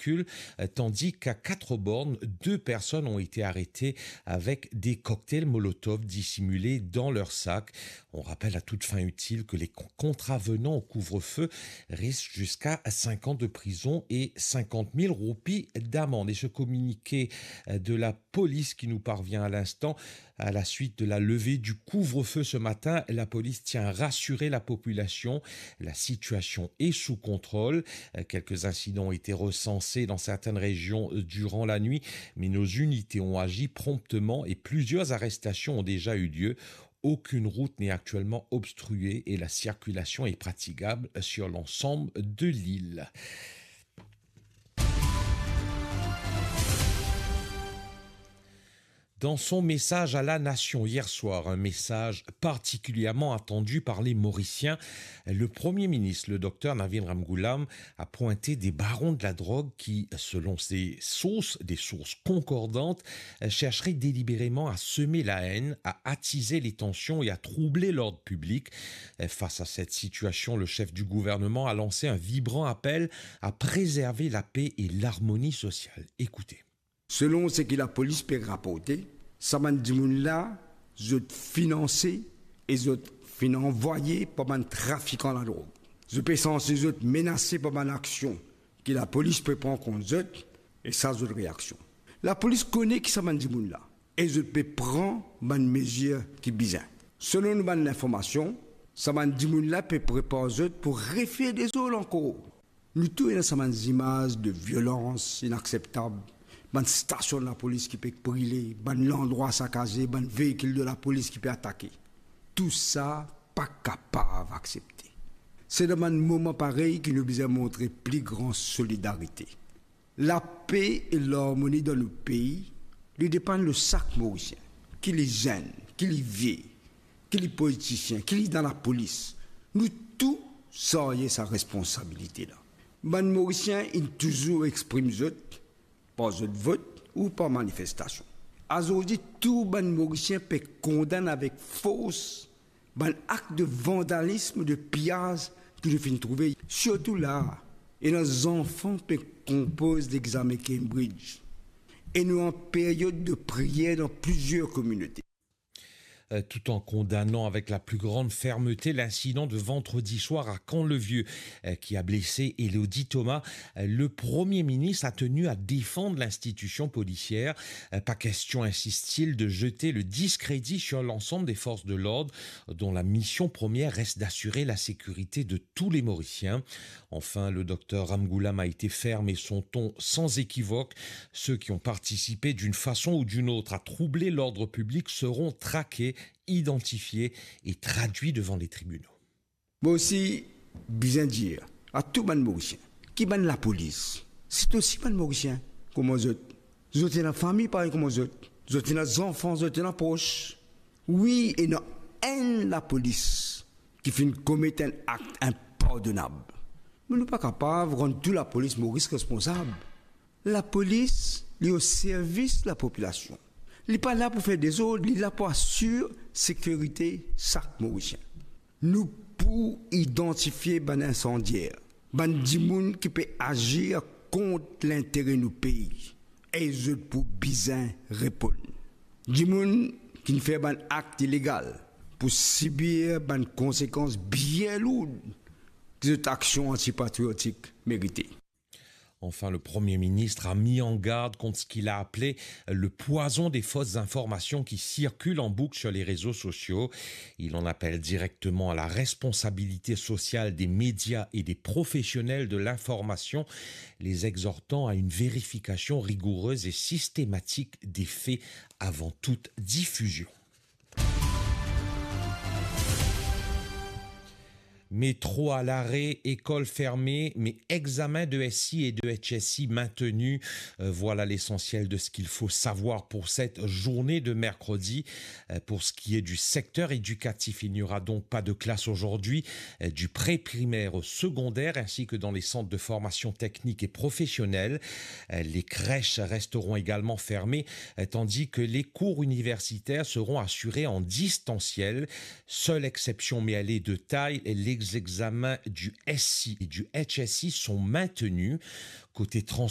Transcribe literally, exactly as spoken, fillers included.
circulent, euh, tandis qu'à quatre bornes, deux personnes ont été arrêtées avec des cocktails Molotov dissimulés dans leur sac. On rappelle à toute fin utile que les con-, contrevenants au couvre-feu risquent jusqu'à cinq ans de prison et cinquante mille roupies d'amende. Et ce communiqué, euh, de la police qui nous parvient à l'instant, à la suite de la levée du couvre-feu ce matin, la police tient à rassurer la population. La situation est sous contrôle. Euh, quelques incidents ont été recensés dans certaines régions, euh, durant la nuit, mais nos unités ont agi promptement et plusieurs arrestations ont déjà eu lieu. Aucune route n'est actuellement obstruée et la circulation est praticable sur l'ensemble de l'île. Dans son message à la nation hier soir, un message particulièrement attendu par les Mauriciens, le Premier ministre, le docteur Navin Ramgoolam, a pointé des barons de la drogue qui, selon ses sources, des sources concordantes, chercheraient délibérément à semer la haine, à attiser les tensions et à troubler l'ordre public. Face à cette situation, le chef du gouvernement a lancé un vibrant appel à préserver la paix et l'harmonie sociale. Écoutez. Selon seki lapolis pe raporte, sa bann dimoun la, zot finanse e zot finn anvwaye par bann trafikan ladrog. Zot pe sanse zot menase par bann aksion ki lapolis pe pran kont zot, e sa zot reaksion. Lapolis kone ki sa bann dimoun la, e zot pe pran bann mezir ki bizin. Selon nou bann linformasion, sa bann dimoun la pe prepar zot pou refer dezord ankor. Nou tou ena sa bann zimaz de violans inakseptab, bann stasion lapolis ki pe brile, bann landrwa sakaze, bann veikil de lapolis ki pe atake. Tousa pa kapav aksepte. Se dan bann moman parey ki nou bizin montre pli gran solidarite. Lape e larmoni dan nou pei, li depann lor sak Morisien, ki li zenn, ki li vie, ki li politisien, ki li dan lapolis. Nou tou sarye sa responsabilite la. Bann Morisien inn touzour exprim zot par zot vot ou par manifestasion. Azordi, tou bann Morisien pe kondann avek fors bann akt de vandalism, de piyaz ki nou finn trouve, sirtou la, ena zanfan pe konpoz lexame Cambridge, e nou an period de priyer dan plizier kominote. Euh, tout en condamnant avec la plus grande fermeté l'incident de vendredi soir à Camp-le-Vieux, euh, qui a blessé Elodie Thomas, euh, le Premier ministre a tenu à défendre l'institution policière. Euh, pas question, insiste-t-il, de jeter le discrédit sur l'ensemble des forces de l'ordre, dont la mission première reste d'assurer la sécurité de tous les Mauriciens. Enfin, le docteur Ramgoolam a été ferme et son ton sans équivoque. Ceux qui ont participé d'une façon ou d'une autre à troubler l'ordre public seront traqués, identifiés et traduits devant les tribunaux. Mo osi bizin dir a tou bann Morisien, ki bann lapolis, se osi bann Morisien kouma zot. Zot ena fami parey kouma zot. Zot ena zanfan, zot ena pros. Wi, ena enn lapolis ki finn komet enn akt inpardonab. Me nou pa kapav rann tou lapolis Moris responsab. Lapolis, li o servis lapopilasion. Li pa la pou fer dezord, li la pou asir sekirite sak Morisien. Nou pou idantifie bann insandier, bann dimoun ki pe azir kont lintere nou pei, e zot pou bizin reponn. Dimoun ki finn fer bann akt ilegal pou sibir bann konsekans bien lour ki zot aksion antipatriotik merite. Enfin, le Premier ministre a mis en garde contre ce qu'il a appelé le poison des fausses informations qui circulent en boucle sur les réseaux sociaux. Il en appelle directement à la responsabilité sociale des médias et des professionnels de l'information, les exhortant à une vérification rigoureuse et systématique des faits avant toute diffusion. Métro à l'arrêt, école fermée, mais examen de S I et de H S I maintenu. Euh, voilà l'essentiel de ce qu'il faut savoir pour cette journée de mercredi. Euh, pour ce qui est du secteur éducatif, il n'y aura donc pas de classe aujourd'hui, euh, du pré-primaire au secondaire, ainsi que dans les centres de formation technique et professionnelle. Euh, les crèches resteront également fermées, euh, tandis que les cours universitaires seront assurés en distanciel. Seule exception, mais elle est de taille, les examens du S I et du H S I sont maintenus. Côté transport,